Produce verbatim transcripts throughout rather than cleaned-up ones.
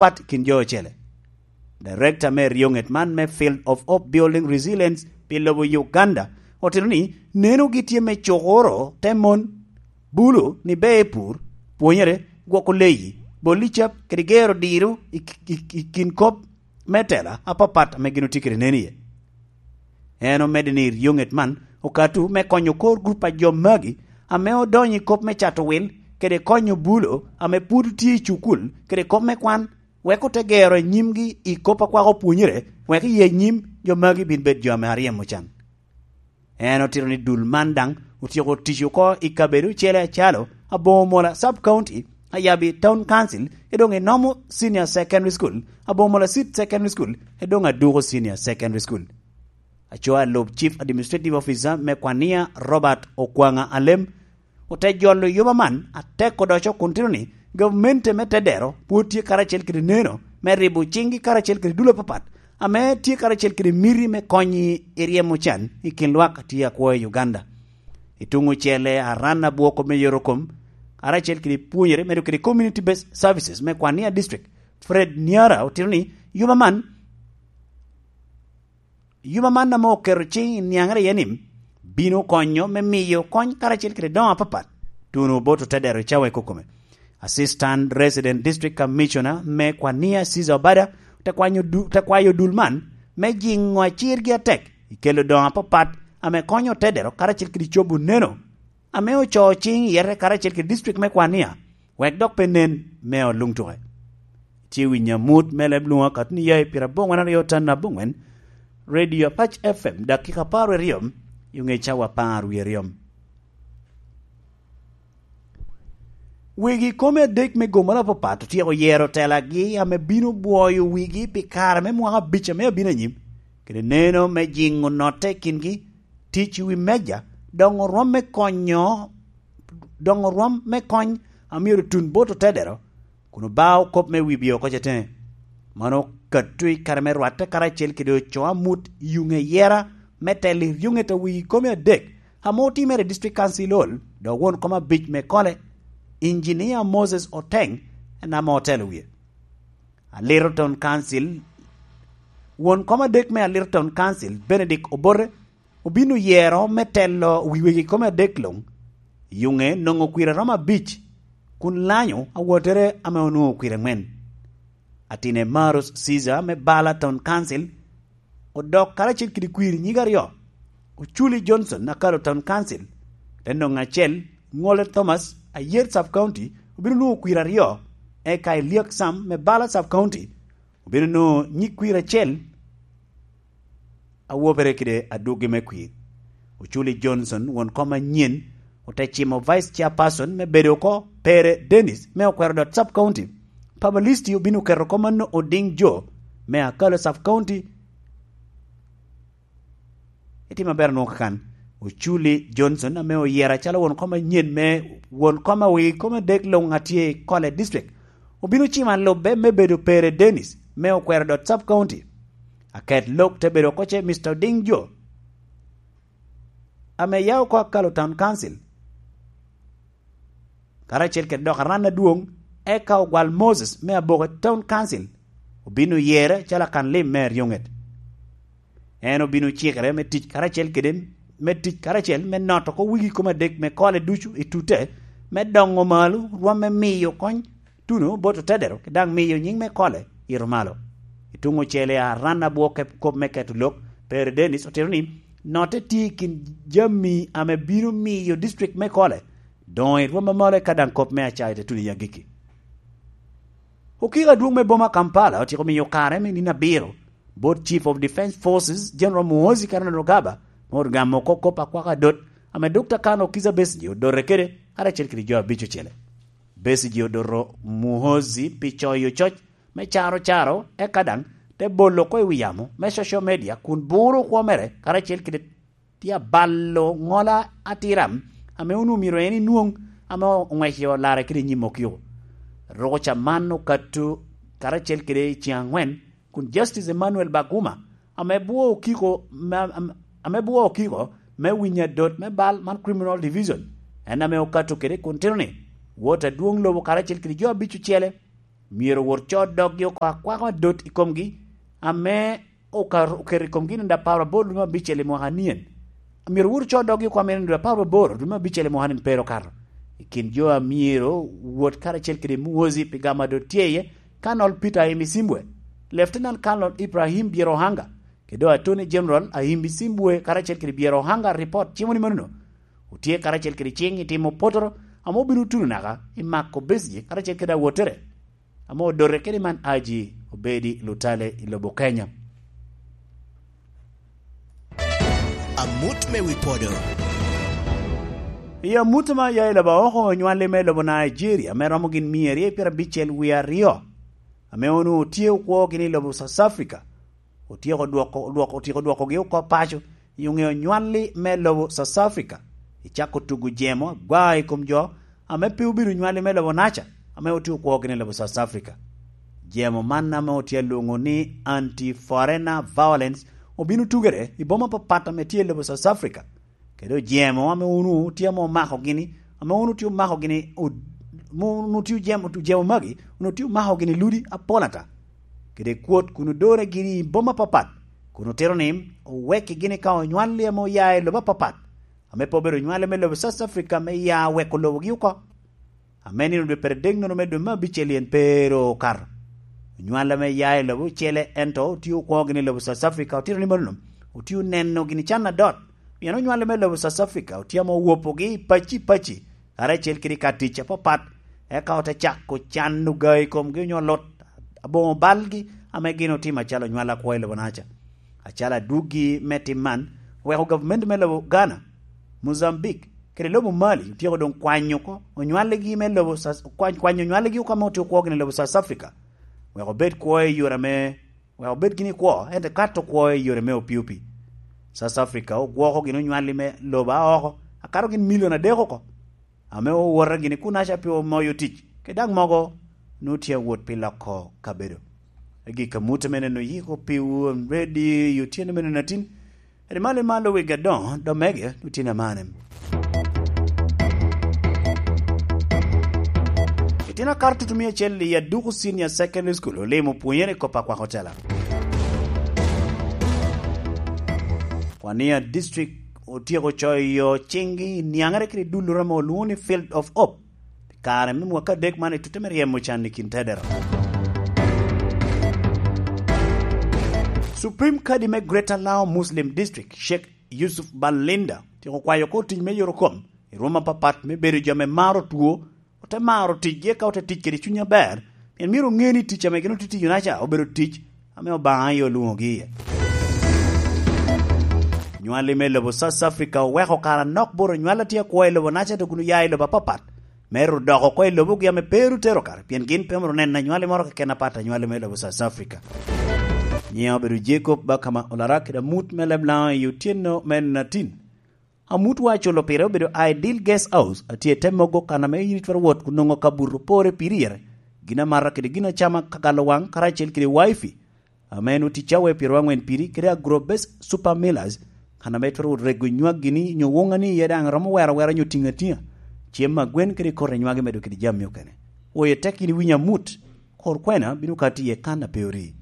pat i kin jo ocele. Director me ryoŋet man me Field of Hope Building Resilience pi lobo Uganda otito ni nenogi tye me cukuro te mon bulu ni ber pur, pwonyere, gwoko leyi, boli cap kede gero diro i, i, i kin kop me tela apapat ame gin otye kede nen iye. En omedde ni ryoŋet man okato me konyo kor grup a jo magi ame odonyo i kop me cato wil kede konyo bulu ame pwod tye i cukul kede kop me kwan, wek ote gero i nyimgi i kop a kwako pwonyere, wek i anyim jo magi bin bed jo ame aryemo can. En otito ni dul man daŋ otyeko tic oko i kabedo ocele acalo Aboŋo Mola Sub County, Ayabi Town Council, edoŋ i Nomo Senior Secondary School, Aboŋo Mola Seed Secondary School, edoŋ Aduko Senior Secondary School. Aco alub Chief Administrative Officer me Kwania, Robert Okwaŋa Alem, ote jolo yoba man atek odoco kun tito ni gamente me Tedero pwod tye karacel kede neno me ribo ciŋgi karacel kede dul apapat ame tye karacel kede miti me konyi i ryemo can i kin lwak a tye akwo i Uganda. I tuŋ ocele, aran abwoko me yorokom karacel kede pwonyere medo kede Community Based Services me Kwania District, Fred Niara, otito ni yoba man Yoba man ame oketo ciŋ i niaŋere iye ni bino konyo me miyo kony karacel kede doŋo apapat tuno bot Otedero i cawa i kokome. Assistant Resident District Commissioner me Kwania, Caesar Obada, te kwanyo du-, te kwayo dul man me jiŋo acirgi atek i kelo doŋo apapat ame konyo Otedero karacel kede cobo neno ame ocoo ciŋ i yete karacel kede district me Kwania, wek dok pe nen me oluŋ tuke. Tye winyo amut me leb lwoŋo akatni ya i pira aboŋwen aryo tan aboŋwen, Radio Apac F M, dakika apar wie aryo, i ŋe cawa apar wie aryo. Wegi kome adek me gomoro apapat otyeko yero telagi ame bino bwoyo wigi pi kare me mwaka abic ame abino anyim, kede neno me jiŋo notte i kingi, tic i wi meja, doŋo rwom me konyo, doŋo rwom me kony a myero tun bot Otedero, kun obao kop me wibio oko ceteŋe. Mano okatto i kare me rwatte karacel kede ocoo amut i yuŋ eyera me telo i ryoŋet a wigi kome adek ame otimere i District Council Hall, dok won kom abic me Kole, Engineer Moses Oteng, en ame otelo wie. Aliroton Council, won kom adek me Aliroton Council, Benedict Obote, obin oyero me telo wi wegi kome adek luŋ. Yuŋe nwoŋo kwir aromo abic, kun lanyo awottere ame onwoŋo kwir aŋwen. Atine Marus Caesar me Bala Town Council odok karacel kede kwir nyig aryo. Oculi Johnson, Akalo Town Council, te nwoŋo acel. Ŋole Thomas, Ayer Sub County, obino nwoŋo kwir aryo, eka Eliak Sam me Bala Sub County obino nwoŋo nyig kwir acel, awobere kede adwogi me kwir. Oculi Johnson, won kom anyen, ote cimo Vice Chairperson me bedo oko, Pere Dennis me Okwero Dot Sub County. Publicity obino keto oko mano Oding Jo me Akalo Sub County. Itimo aber nwoŋo kakan. Oculi Johnson ame oyero acalo won kom anyen me won kom a wigi kome adek luŋ a tye i Kole District, obino cimo alubbe me bedo Pere Dennis me Okwero Dot Sub County. Aket lok te bedo oko ce Mister Oding Jo, ame ya oko Akalo Town Council, karacel kede dok aran adwoŋ, eka Ogwal Moses me Aboke Town Council obino yere calo akan lim me aryoŋet. En obino cikere me tic karacel kede, me tic karacel me noto oko wigi kome adek me Kole ducu i tute, me doŋo malo rwom me miyo kony tuno bot Otedero, kede daŋ miyo nyiŋ me Kole ito malo. I tuŋ ocele, aran abwo kep-, kop me keto lok, Pere Dennis otito ni notte tye i kin jami ame bino miyo district me Kole doŋo i rwom amalo, eka daŋ kop me acayi te tuno i agikki. Okiko adwoŋ me boma Kampala otyeko miyo kare me nino abiro bot Chief of Defence Forces, General Muhoozi Kainerugaba, me ot gamo oko kop akwaka adot ame Dokta Kano Kizza Besigye odote kede, karacel kede jo abic ocele. Besigye odoto Muhoozi pi coyo coc me caro caro, eka daŋ te bolo oko i wi yamo me social media kun buro okwo mere karacel kede tye abalo ŋola atira ame onwoŋo myero en enwoŋ ame oŋweco larre kede i nyim okiko. Ruko ca man okato karacel kede i ceŋ aŋwen, kun Justice Emmanuel Baguma, ame bwo okiko, me, ame, ame bwo okiko me winyo adot me bal man Criminal Division, en ame okato kede kun tito ni wot adwoŋ lobo karacel kede jo abic ocele myero owot co doggi oko akwako adot i komgi, ame okar-, oketo i komgi nino apar aboro dwe me abicel i mwaka anien. Myero owot co doggi oko ame nino apar aboro dwe me abicel i mwaka anien pe ru okato. I kin jo a myero wot karacel kede Muhoozi pi gamo a doŋ tye iye, Colonel Peter Ahimisimbwe, Lieutenant Colonel Ibrahim Byerohanga, kede doŋ Attorney General Ahimisimbwe karacel kede Byerohanga, ripot cimo ni manono otye karacel kede ciŋ i timo potoro ame obino tuno naka i mako Besigye karacel kede awottere ame odote kede man Haji Obedi Lutale i lobo Kenya. Amut me wi podo. I amut ma ya i lobo oko, onywalli me lobo Nigeria ame romo gin mia aryo i pyerabicel wie aryo, ame onwoŋo tye okwo gini i lobo South Africa, otyeko dwoko, dwoko, otyeko dwokogi oko paco i oŋeo nywalli me lobo South Africa, i cako tugo jemo agwa i kom jo ame pe obedo nywalli me lobo Naca, ame otye okwo gini i lobo South Africa. Jemo man ame otye alwoŋo ni Anti-Foreigner Violence obino tugere i boma apapat ame tye i lobo South Africa, kede ojemo ame onwoŋo tye ame omako gini, ame onwoŋo tye omako gini, od-, mo-, onwoŋo tye ojemo, ojemo magi, onwoŋo tye omako gini ludi apol ata, kede kwot kun odore gini i boma apapat, kun otito ni owekki gini ka onywalli ame oya i lobo apapat, ame pe obedo onywalli me lobo South Africa me ya weko lobogi oko. Ame nino dwe pyeradek nono me dwe me abicel yen pe ru okato. Onywalla me ya i lobo ocele, ento otye okwoŋo gini i lobo South Africa, otito ni manono, otye oneno gini can adot. Pien onywalla me lobo South Africa otye ame owopogi i pacci pacci, karacel kede i ka tic apapat, eka ote cako cano ga i komgi onyo lut aboŋo balgi ame gin otimo acalo onywalla akwo i lobo Naca. Acalo adwoggi me tim man, oweko gavumenti me lobo Ghana, Mozambique, kede lobo Mali otyeko doŋ kwanyo oko onywalligi me lobo Sa-, kwany-, kwanyo onywalligi oko ame otye okwogi i lobo South Africa, wek obed kwo i yore ame, wek obed gini kwo, ento kato kwo i yore me opii opii. South Africa ogwoko gin onywalli me lobo a oko, akato gin milion adek oko. Ame owote gini kunaca pi omoyo tic, kede daŋ mogo nwoŋo tye awot pi loko kabedo. Agikki amut ame neno yiko piwu, I'm ready, i otyeno me neno atin. Edi malo i malo wegi adoŋo, dok mege, otyeno amane. Itino akato tutumia acel i Aduku Senior Secondary School olimo pwonyere i kop akwako tela. Kwania District otyeko coyo ciŋgi i niaŋere kede dulloro ame olwoŋo ni Field of Hope pi kare me mwaka adek man i tutte me ryemo can i kin tedero. Supreme Kadi me Greater Lao Muslim District, Sheikh Yusuf Balinda, otyeko kwayo oko tic me yorokom i rwom apapat me bedo jo ame maro two, ote maro ticgi eka ote tic kede cuny aber, pien myero oŋe ni tic ame gin otye tiyo-naca obedo tic ame Obaŋa aye olwoŋogi iye. Nywalli me lobo South Africa oweko kare anok bot onywalla tye akwo i lobo-naca dok kun oya i lobo apapat, me ru dok oko i lobogi ame pe ru tero kare, pien gin pe myero onen anywalli moro keken apat anywalli me lobo South Africa. Nyiŋa obedo Jacob Bakama Olarak, kede amut me leb Laŋo i otyeno me nino atin. Amutwa aculo pire obedo Ideal Guest House, a tye i te mogo kan ame in itwero wot kun nwoŋo kabuto pore piri yere, gin amata kede gin acama ka galo waŋ karacel kede wifi, ame en otic cawa pyeraryo aŋwen piri, kede Agro Best Super Millers, kan ame itwero rego nywaggi ni nyo woŋani iye daŋ romo wero awera nyo tiŋ atiŋa, cem agwen kede koti nywagi medo kede jami okene. Woyo tek in iwinyo amut, kor kwena bino kati iye kan a pe orii.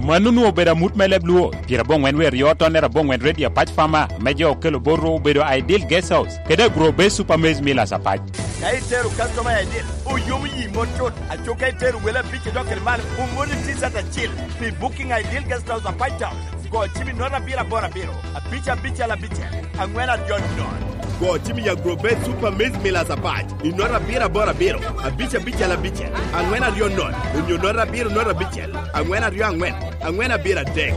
Mano onwoŋo obedo amut me leb Luo, pyerabongwen wie aryo tonnere abongwen redio Apac Farmer, me jo okelo bot ru obedo Ideal Guest House, kede Agro Base Super Maize Millers Apac. Ka itero customer Ideal, oyomo yi mot cut, aco ka itero wele abic idok kede malo, omoni T-shirt acil. Pi booking Ideal Guest House Apac Town, go cim i nota abiro aboro abiro, abic abicel abicel, aŋwen aryo nono. Go cim i Agro Base Super Maize Millers Apac, i nota abiro aboro abiro, abic abicel abicel, aŋwen aryo nono, onyo nota abiro nota abicel, aŋwen aryo aŋwen, aŋwen abiro adek.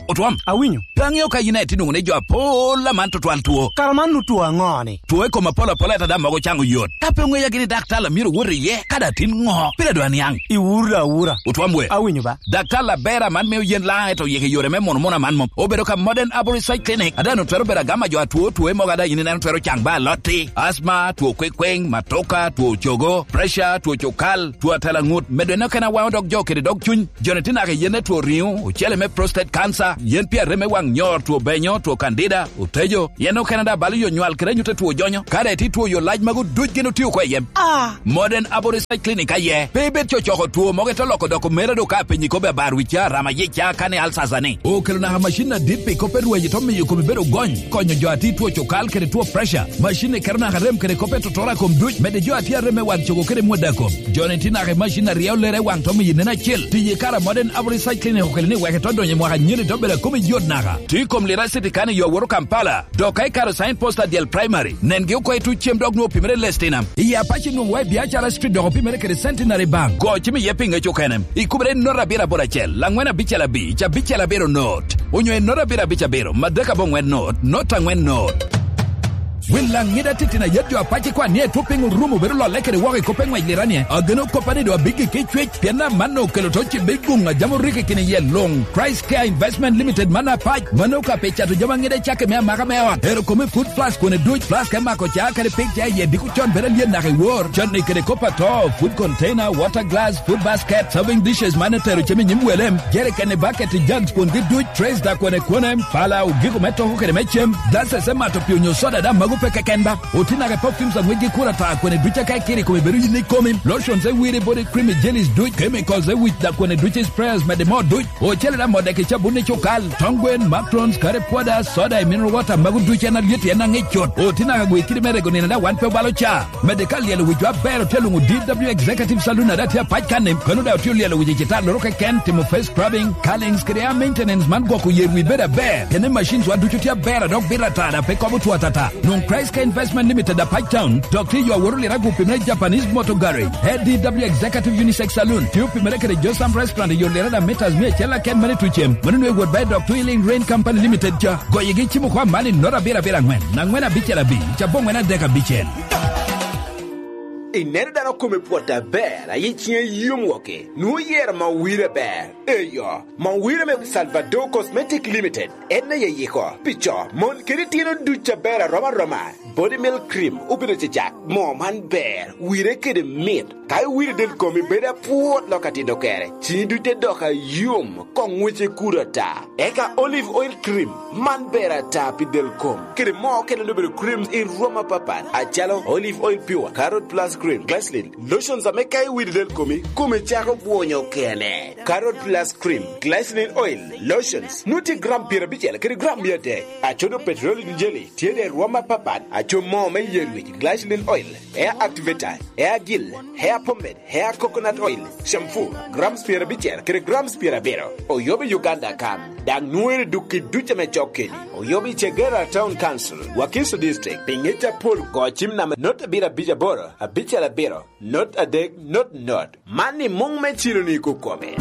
Otwom. Awinyo. Pe aŋeo ka yin aye tye nwoŋo ni jo apol aman tutwal two. Kara man nu two aŋo-ni? Two i kom apol apol ata daŋ mogo caŋo yot. Ka pe oŋeya gini daktar a myero owot iye, ka daŋ tin ŋo? Pire dwa niaŋ. Iwuro da awura. Otwom we. Awinyo ba. Daktar aber aman mio yen Laŋo ento oyiko i yore me mono mono aman mom. Obedo ka Modern Herbal Research Clinic. A daŋ otwero bedo agam a jo a two two mogo a daŋ yin ineno twero caŋ ba alotti, asma, two kwekweng, matoka, two cogo, pressure, two cukal, two atela ŋut, medo en okene awaŋo dog jo kede dog cuny. Joni tye naka i yen me two riŋo, ocele me prostate cancer, yen pi arem me waŋ nyo two benyo, two kandida, otejo, yen okene daŋ balo yo nywal kede anyut a two jonyo. Ka daŋ itye two yo lac magu duc gin otio oko i yem. Ah! Modern Arborist Clinic aye. Pe ibed cocoko two mogo ite loko doko mere do ka penyi kobbe abar wi ca, rama yic ca, kani alsasa ni. Okelo naka macin adit pi kop pe rwenyo to miyo komi bedo gony, konyo jo a tye two cukal kede two pressure. Macin ni keto naka rem kede kop pe totoro a kom duc, medde jo a tye arem me wang cogo kede mwada kom. Joni tye naka i macin aryo lere waŋ to miyo nen acel. Tiyo i kare a Modern Average Cycling okelo ni wek ito donyo i mwaka nyeni to bedo a kome yot naka. Tye i kom Lira City kan i yo woro Kampala. Dok ka ikaro sign post adyel primary, nengi oko i tuc cem dok nwoŋo opimere Lestinam. I Apac inwoŋo wa i Biacara Street dok opimere kede Centenary Bank. Go cim iye pi ŋec okene. Ikubere i not abiro aboro acel, angwen abicel abic, abicel abiro not. Onyo i not abiro abic abiro, madek aboŋwen not, not angwen not. Wil laŋ ŋida titino a yet jo apac ikwan ni etwo piny orumo bedo lolle kede woko i kop pe ŋwec liranie. Ageno koppa ni do abiggi ki cwec, pien amanno okelo to cibbe i guŋ a jam oriki kini yie luŋ. Christ Care Investment Limited man apac, mano ka pe cato jami aŋida i cakki me amaka me ot. Ero kome food flask kone duc, flask me mako ca kede pig ca iye diko con bedo alyet naka i wor. Canni kede kop ato, food container, water glass, food basket, serving dishes man etero cem i nyim welem, jerikeni, bucket, jugs, kwongi duc, trays da kwene kwene, pala, ogiko me toko kede me cem, glasses me mato pii onyo soda da magu pe keken ba. Otino ake perfumes aŋwec gi kura ta kwene duc aka ikiri kome bedo yin ikomi, lotions e wiri body cream i jellies duc, chemicals e wic da kwene duc i sprayers mede mo duc, ocele da modde ki cabun i cukal, tong gwen, macarons, curry powder, soda i mineral water magu duc en alyet en aŋic cut. Otino aka gwe kidi me rego nino da wan pe obalo ca. Medde ka lyelo wic wa ber otye luŋo D W Executive Saloon a da tye apac kanni, kano da otye olyelo wic i citar loro keken, timo face scrubbing, curlings kede hair maintenance man gwoko yer wi bedo aber. Kene machines wa ducu tye aber a dok bito atara pe kobo two atata. Nwoŋ Christ Care Investment Limited apac town, dok tye yo aworo lirago opimere Japanese Motor Garage, A D W Executive Unisex Saloon, tye opimere kede Josam Restaurant i yo lirada meters mia acel aken mane tucem, mano nwe wot ba i dok Twilling Rain Company Limited ca. Goyegi cimo kwa mani not abiro abiro angwen, angwen abicel abic, aboŋwen adek abicel. Ineno dano kome pwot aber, aye ciŋe yom woke, nwoŋo yero ma wire aber. Eyo, ma wire me Salvador Cosmetic Limited, en aye yiko, pi co, mon kede itino duc aber arom aroma. Body Milk Cream obedo cecak, moo man ber, wire kede mit. Ka iwiro del komi bedo apwot lok atito kere, ciŋi duc te dok ayom, koŋ ŋwece kuto ata. Eka Olive Oil Cream, man ber ata pi del kom. Kede moo okene obedo creams i rwom apapat, acalo Olive Oil Pure, Carrot Plus Cream, Glycerin, lotions ame ka iwiro del komi, komi cako bwonyo kene. Carrot Plus Cream, Glycerin Oil, Lotions, nwoŋo tye gram pyerabicel kede gram mia adek. Acodo Petroleum Jelly, tye de rwom apapat, aco moo me yen wic, Glycerin Oil, Hair Activator, Hair Gel, Hair Pomade, Hair Coconut Oil, Shampoo, grams pyerabicel kede grams pyerabiro. Oyobo i Uganda kan, daŋ nwoŋere duk i duc ame cok keni. Oyobo i Kagera Town Council, Wakiso District, pi ŋec apol go cim namba not abiro abic aboro, abicel abiro, not adek, not not. Man ni muŋ me cilo ni kokome.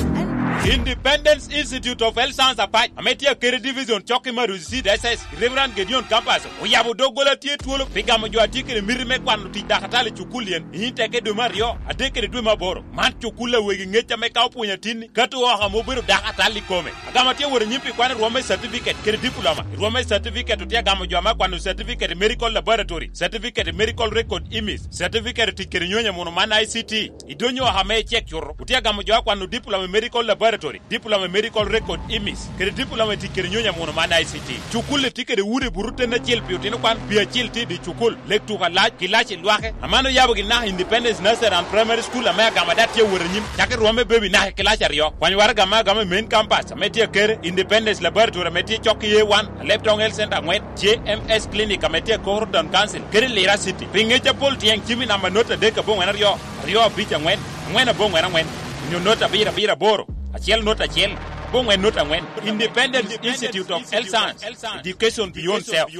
Independence Institute of Health Science Apac, ame tye akede division cok i Maruzi Seed S S, Reverend Gideon Campus, oyabo doggola tye twolo pi gamo jo a tye kede miti me kwano tic dakatal i cukul yen, i nyim teke dwe me aryo, adek kede dwe me aboro. Man cukul a wegi ŋec ame ka opwonyo atinni, kato oko ame obedo dakatal i kome. Agamo tye wot anyim pi kwano rwom me certificate kede diploma. I rwom me certificate otye agamo jo ame akwano certificate i medical laboratory, certificate i medical record imis, certificate i tic kede nyonyo muno man I C T. I dony oko ame icek cuto, otye agamo jo akwano diploma i medical laboratory, diploma i medical record imis, kede diploma i tic kede nyonyo muno man I C T. Cukul-li tye kede udi buto ten acel pi otino kwan, pi acil tye i dye cukul, lek tuko alac, ki lac i lwake. Aman oyabo gin naka Independence Nursery and Primary School ame agamo ada tye awot anyim, cakki rwom me baby naka i kilac aryo. Kwany waraga ame agamo i main campus ame tye akere, Independence Laboratory ame tye cok i A one, Alebtong Health Center angwen, J M S Clinic ame tye i Koro Town Council, kede Lira City. Pi ŋec apol tyeng cim i namba not adek aboŋwen aryo, aryo abic angwen, angwen aboŋwen angwen, onyo not abiro abiro aboro, acel not acel, aboŋwen not angwen. Independence Institute of Health Science, Education Beyond Self.